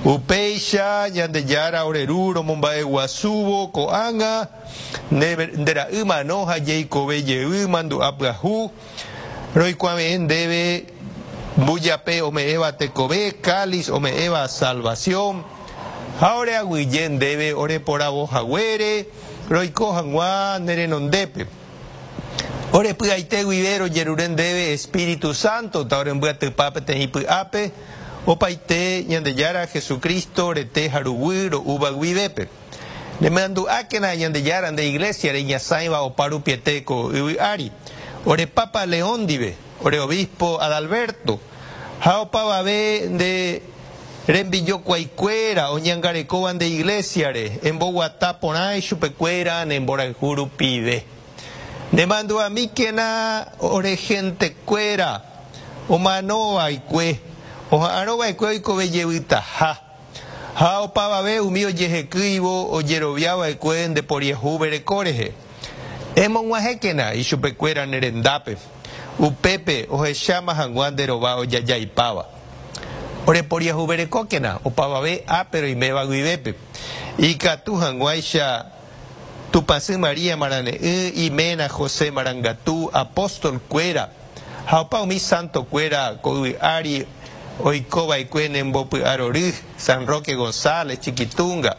Upéicha, Ñandejára ore Ru romomba'eguasúvo ko'ág̃a nde ra'y mano ha jeikove jey mandu'a pyahu, roikuave'ẽ ndéve mbujape ome'ẽva tekove, cáliz ome'ẽva salvación, ha ore aguyje ndéve oreporavo haguére roiko hag̃ua ne renondépe. Ore py'aite guive rojerure ndéve Espíritu Santo ta orembyatypa peteĩ py'ápe opaite Ñandejára Jesucristo rete ha ruguy ro'úva guivépe. Nemandu'ákena Ñandejára nde Iglesia reñasãiva opa rupiete ko yvy ári, ore Papa León ndive, ore Obispo Adalberto, ha opavave nde rembijokuaikuéra oñangarekóva nde Iglesia-re, emboguata porã ichupekuéra ne mborayhu rupive. Nemandu'amíkena ore gentekuéra omanova'ekue, oha'arõva'ekue oikove jevytaha. Ha opavave umi ojehekýivo ojerovia va'ekue nde poriahu vereko rehe. Emog̃uahẽkena ichupekuéra ne rendápe, upépe ohecháma hag̃ua nde rova ojajaipáva. Ore poriahu verekókena opavave ápe roiméva guivépe, ikatu hag̃uáicha Tupãsy María Marane'ỹ, iména José Marangatu, apóstol kuéra, ha opa umi sánto kuéra ko yvy ári oiko va'ekue ne mbopy'arory, San Roque González, Chiquitunga,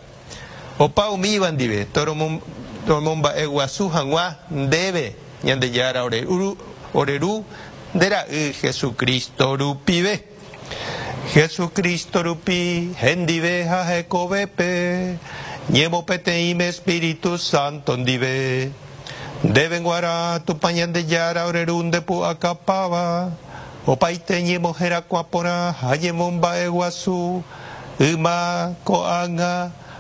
opa umíva ndive toromomba'e guasu hag̃ua ndéve Ñandejára ore Ru, nde Ra'y Jesucristo rupive. Jesucristo rupi hendive ha hekovépe, ñemopeteĩme Espíritu Santo ndive. Ndéve g̃uarã Tupã Ñandejára ore Ru nde pu'akapáva, opaite ñemoherakuã porã ha ñemomba'eguasu, yma, ko'ág̃a.